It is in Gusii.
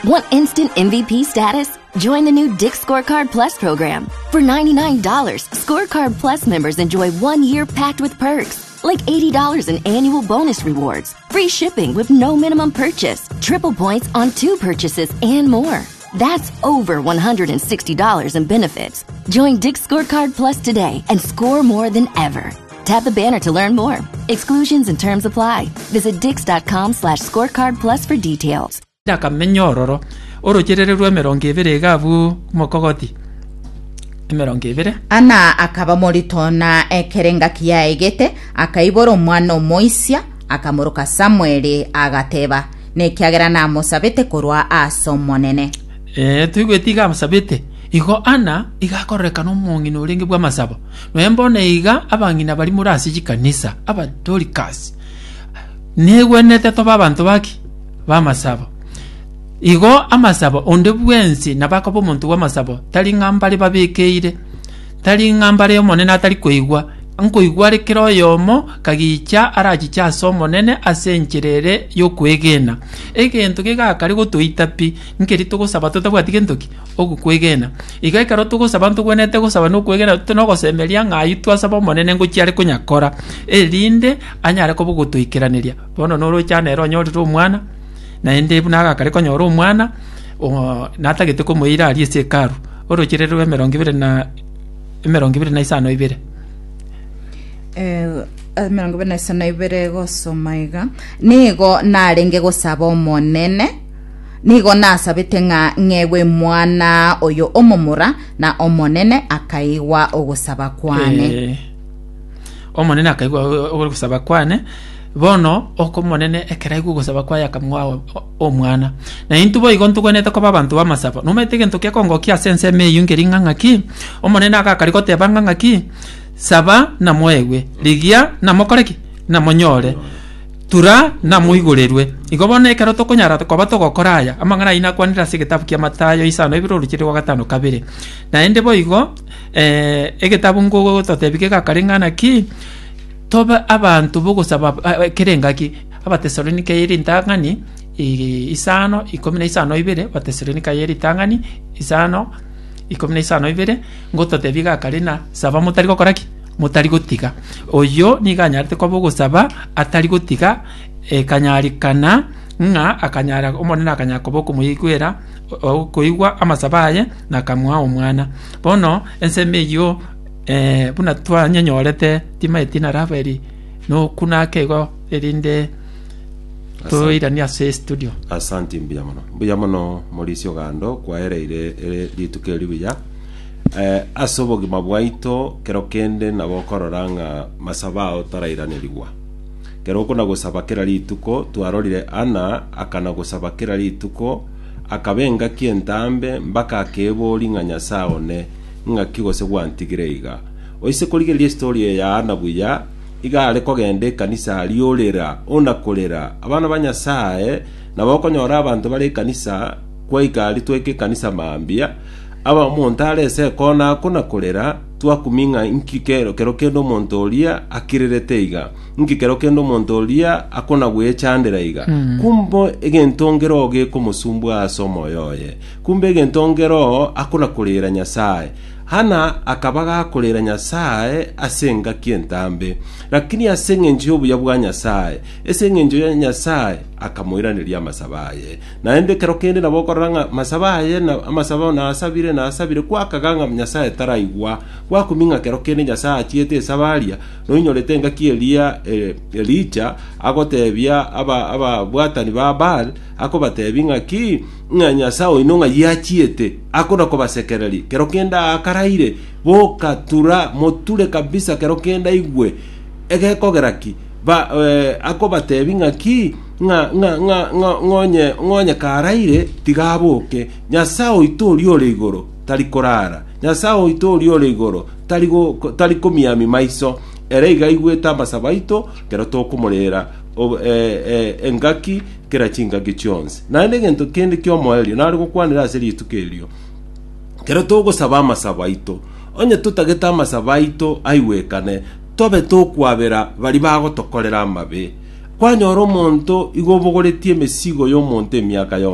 Want instant MVP status? Join the new Dick Scorecard Plus program. For $99, Scorecard Plus members enjoy one year packed with perks, like $80 in annual bonus rewards, free shipping with no minimum purchase, triple points on two purchases, and more. That's over $160 in benefits. Join Dick Scorecard Plus today and score more than ever. Tap the banner to learn more. Exclusions and terms apply. Visit dix.com slash scorecard plus for details. Akamenya ororo, orocherere rw'emerongo ebere iga abwo omokogoti, emerongo ebere. Ana akaba morito, na ekero engaki yaegete, akaibora omwana omoisia, akamoroka Samweli, agateba, Nekiagera namosabete korwa ase Omonene. Ee, toigweti iga amosabete. Igo Ana iga akororekana omong'ina orenge bw'amasabo. Nonya mbono iga abang'ina baria more ase chikanisa, Abadorikasi, negwenerete tobe abanto baki? B'amasabo. Igo amasabo, onde bwensi nabo akoba omonto bw'amasabo, tari ng'a mbare babekeire, tari ng'a mbare Omonene atari koigwa, nkoigwa are kera oyomo kagicha arachiche ase Omonene ase enchera ere y'okwegena. Egento gegakare gotoita pi, nkeri togosaba totabwati gento ki? Ogokwegena. Igo ekero togosaba ntogwenerete gosaba nokwegena nogosemeria ng'a ayio twasaba Omonene ngochia are konyakora, erinde anyare koba ogotoikeraneria. Bono noroche aa nere onyorire omwana, naende buna agakare konyora omwana, oo natagete komoira aria ase hekalu, oroche rero rwa emerongo ebere na emerongo ebere na isano ibere. Eh, emerongo ebere na isano ibere gosoma iga nigo narenge gosaba omonene nigo nasabete ng'a ng'egwe mwana oyo omomura na omonene akaigwa ogosaba kwane Eh, Omonene akaigwa ogosaba kwane, bono ok'Omonene ekero aigwa ogosaba kwaye akamoa omwana. Na intwe boigo ntogwenerete koba abanto b'amasabo. Nomanyete egento gekongokia ase ensemo eyio nkeri ng'a ng'aki? Omonene agakari goteba ng'a ng'aki? Saba namoegwe, rigia namokore ki? Namonyore, tura namoigorerwe. Igo bono ekero tokonyara koba togokora aya, amang'ana ayio nakwanire ase egetabu kia Mathayo isano ibere oruchire rwa gatano kabere. Naende boigo, Egetabu ngogototebia gegakare ng'a naki tobe abanto b'ogosaba kera engaki. Abatesalonike ye ritang'ani isano ikomi na isano ibere, Abatesalonike ye ritang'ani isano ikomi na isano ibere, ngototebia egakare ng'a saba motari gokora ki? Motari gotiga. Oyio nigo anyarete koba ogosaba atari gotiga, ekanyarikana ng'a akanyara Omonene akanyara koba okomoigwera okoigwa amasabo aye na akamoa omwana. Bono ensemo eyio buna twanyenyorete timaeti na Rafaeli nokuna ake igo erinde toiranie ase estudio. Asanti mbuya mono. Mbuya mono Maurice Ogando kwaereire ere rituko eri buya. Eh, ase obogima bwaito kero kende nabo okorora ng'a masabo ao tarairaneriwa. Kero okona gosaba kera rituko twarorire Anna akana gosaba kera rituko Akaba engaki entambe mpaka akeboria ng'a Nyasae one, ng'aki gose gwantigire iga? Oise korigereria estory eye ya Anna buya, iga are kogenda ekanisa aria orera, ona korera. Abana ba Nyasae, nabo okonyora abanto bare ekanisa, kwaika aria twaika ekanisa mambia, aba omonto are ase ekona akona korera, twakumia ng'a inki kero kero kende omonto oria akirerete iga. Inki kero kende omonto oria akona gwechandera iga? Kumbe egento nkeroo gekomosumbua ase omoyo oye. Kumbe egento nkeroo akona koreera Nyasae. Hana akaba gakoreera Nyasae ase engaki entambe. Lakini ase engencho y'obuya bwa Nyasae, ase engencho ya Nyasae akamoiraneria amasabo aye. Naende ekero kende nabo okorora ng'a amasabo aye na amasabo nasabire nasabire kwakaga ng'a Nyasae taraigwa. Gwakumia ng'a kero kende Nyasae achiete esabaria Noinyorete engaki eria Elija agotebia ababwatani ba Baal, akobatebia ng'aki, ng'a Nyasae oino ng'ai achiete, akona kobasekereria. Kero kende aakaraire, boka, tura, moture kabisa kero kende aigwe. Egekogera ki? Ba, akobatebia ng'aki, ng'a, ng'a, ng'a, ng'a, ng'onye, ng'onye karaire, tiga aboke. Nyasae oito oria ore igoro tari korara. Nyasae oito oria ore igoro tari go, tari komiamia maiso, ere iga aigwete amasabo aito ekero tokomorera ob, e, e, engaki kera chingaki chionsi. Naende egento kende ki'omoerio nare gokwanera ase rituko erio, ekero togosaba amasabo aito, onye totagete amasabo aito aigwekane, tobe tokwabera baria bagotokorera amabe. Kwanyora omonto igo obogoretie emesigo y'omonto emiaka yonsi.